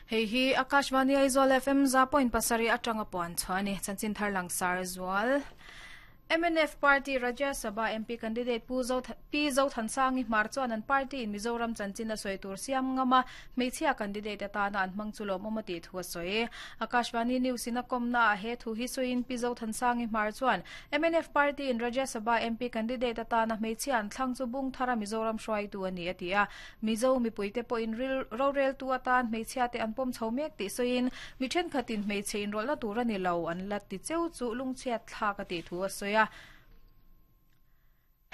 Hei hi Akashvani Aizawl FM 100.7 atanga puan chhuah a ni. Chanchin thar langsar zual. Mnf Party Rajya Sabha MP candidate Pu Zo Pi Zothansangi Hmar chuan an party in Mizoram chanchin a sawi tur siam ngam a, hmeichhia candidate atana an hmang chu lawmawm a tih thu a sawi. Akashvani News in a kawmna ah he thu hi sawiin Pi Zothansangi Hmar chuan mnf Party in Rajya Sabha MP candidate atana hmeichhia an thlang chu bung thara Mizoram hruaitu a ni a ti a. Mizo mipuite pawhin ril roreltu atan hmeichhiate an pawm chho mek tih sawiin mi thenkhatin hmeichhe inrawlhna tur a ni lo an la ti cheu chu lungchhiat thlak a tih thu a sawi a.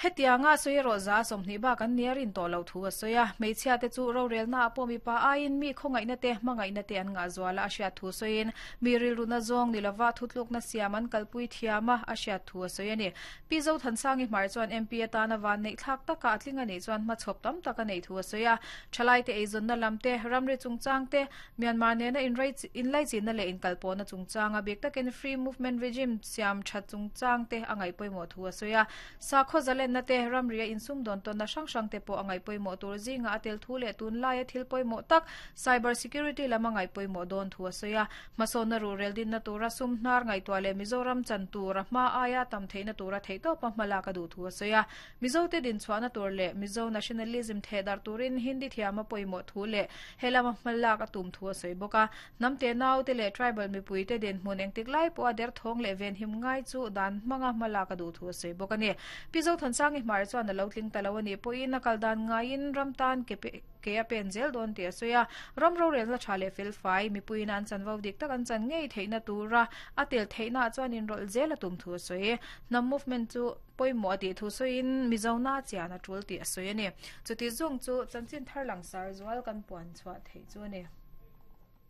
Hetianga sawi erawh za 20 bak an nia rin tawh loh thu a sawi a. Hmeichhiate chu rorelnaah pawh mipa aiin mi khawngaihna te, hmangaihna te an ngah zual a a hriat thu sawiin mi rilruna zawng ni lova thutlukna siam an kalpui thiam a a hriat thu a sawi a ni. Pi Zothansangi Hmar chuan MP atana vanneih thlak taka a tling a nih chuan hmachhawp tam tak a neih thu a sawi a. Thalaite eizawnna lam te, ramri chungchang te, Myanmar nena inlaichinna leh inkalpawhna chungchang a bik takin Free Movement Regime siam that chungchang te a ngaih pawimawh thu a sawi a. Sakhaw zalenna te, ramria insumdawn tawnna hrang hrang te pawh a ngaih pawimawh tur zingah a tel thu leh tunlaia thil pawimawh tak cyber security lam a ngaih pawimawh dawn thu a sawi a. Hmasawnna ruhrel dinna tura sum hnar ngaihtuah leh Mizoram chan tura hma aia tam theihna tura theihtawpa hmalak a duh thu a sawi a. Mizote dinchhuahna tur leh Mizo nationalism thehdarh turin Hindi thiama pawimawh thu leh helama hmalak a tum thu a sawi bawk a. Hnam te naute leh tribal mipuite dinhmun engtik lai pawha derthawng leh venhim ngai chu dan hmanga hmalak a duh thu a sawi bawk a ni. Pi Zothansangi Hmar chuan a lo tling ta lo a nih pawhin a kal dan ngaiin ram tan ke Ke a pen zel dawn tih a sawi a, ram rorelna tha leh felfai, mipuiin an chanvo dik tak an chan ngei theihna tura a tel theihnaah chuan inrawlh zel a tum thu a sawi. Hnam movement chu pawimawh a tih thu sawiin Mizona chian a tul tih a sawi a ni. Chuti zawng chu chanchin thar langsar zual kan puan chhuah theih chu a ni.